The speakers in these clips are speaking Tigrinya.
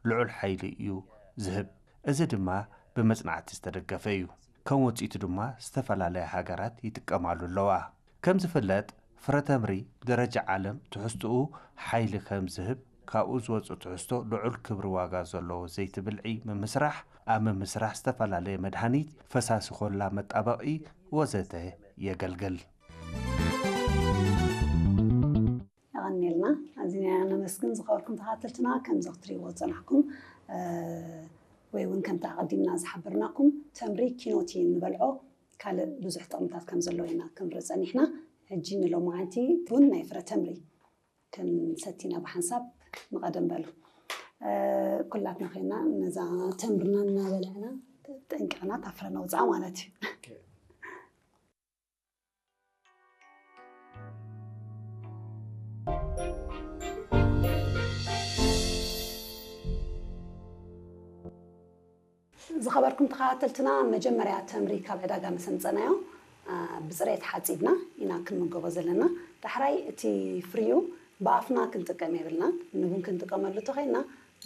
ልዑል ሓይሊ እዩ ዝህብ። እዚ ድማ ብመጽናዕቲ ዝተደገፈ እዩ። ከም ውጽኢቱ ድማ ዝተፈላለያ ሃገራት ይጥቀማሉ ኣለዋ። ከም ዝፍለጥ፣ ፍረተምሪ ብደረጃ ዓለም ትሕዝትኡ ሓይሊ ከም ዝህብ ካብኡ ዝወጽእ ትሕዝቶ ልዑል ክብሪ ዋጋ ዘለዎ ዘይቲ ብልዒ ምምስራሕ፣ ኣብ ምምስራሕ ዝተፈላለየ መድሃኒት፣ ፈሳሲ ኮላ መጣበቒ ወዘተ የገልግል። የቐንየልና። ኣዚና ነመስግን ዝኸበርኩም ተኸታተልትና። ከምዚ ክትሪእዎ ዝጸናሕኩም ወይ እውን ከምቲ ኣቐዲምና ዝሓበርናኩም ተምሪ ኪኖቲ ንበልዖ ካልእ ብዙሕ ጥቕምታት ከም ዘለዎ ኢና ክንርኢ ጸኒሕና። ሕጂ ንሎማዓንቲ ቡን ናይ ፍረ ተምሪ ክንሰቲ ኢና ብሓንሳብ ንቐደም በሉ። ኩላትና ኮይና ነዛ ተምርና እናበላዕና ጠንቂቕና እታ ፍረ ነውፅኣ ማለት እዩ። ዝኸበርኩም ተኸታተልትና፣ መጀመርያ ተምሪ ካብ ዕዳጋ ምስ ኣምፀናዮ ብፅሬት ሓፂብና ኢና ክንምገቦ ዘለና። ዳሕራይ እቲ ፍሪኡ ብኣፍና ክንጥቀም የብልናን። ንቡን ክንጥቀመሉ ተኾይንና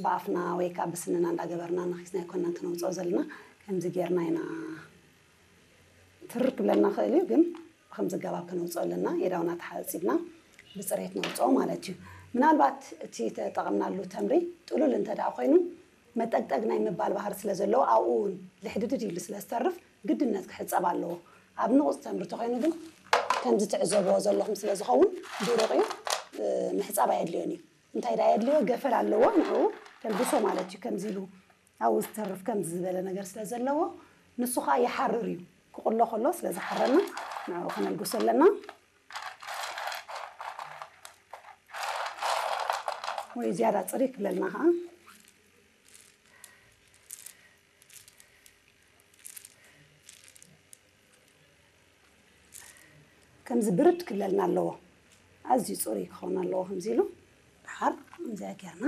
ብኣፍና ወይ ከዓ ብስንና እንዳገበርና ነኺስና ኣይኮንናን ክነውፅኦ ዘለና። ከምዚ ጌርና ኢና ትርር ክብለና ክእል እዩ፣ ግን ብከምዚ ኣገባብ ከነውፅኦ ኣለና። የዳውና ተሓፂብና ብፅሬት ነውፅኦ ማለት እዩ። ምናልባት እቲ ተጠቐምናሉ ተምሪ ጥሉል እንተ ደኣ ኮይኑ መጠግጠግ ናይ ምባል ባህሪ ስለ ዘለዎ ኣብኡ እውን ልሕድድድ ኢሉ ስለ ዝተርፍ ግድነት ክሕፀብ ኣለዎ። ኣብ ንቑፅ ተምሪ ተኮይኑ ግን ከምዚ ትዕዘብዎ ዘለኹም ስለ ዝኸውን ድሩቕ እዩ፣ ምሕፃብ ኣየድልዮን እዩ። እንታይ ደኣ የድልዮ? ገፈል ኣለዎ፣ ንዕኡ ተልግሶ ማለት እዩ። ከምዚ ኢሉ ኣብኡ ዝተርፍ ከምዚ ዝበለ ነገር ስለ ዘለዎ ንሱ ከዓ ይሓርር እዩ። ክቕሎ ከሎ ስለ ዝሓረና ንዕኡ ከነልግሶ ኣለና። ወይ ዝያዳ ፅሪ ክብለልና ከዓ ከምዚ ብርድ ክብለልና ኣለዎ። ኣዝዩ ፅሩይ ክኸውን ኣለዎ። ከምዚ ኢሉ ደሓር ከምዚኣ ጌርና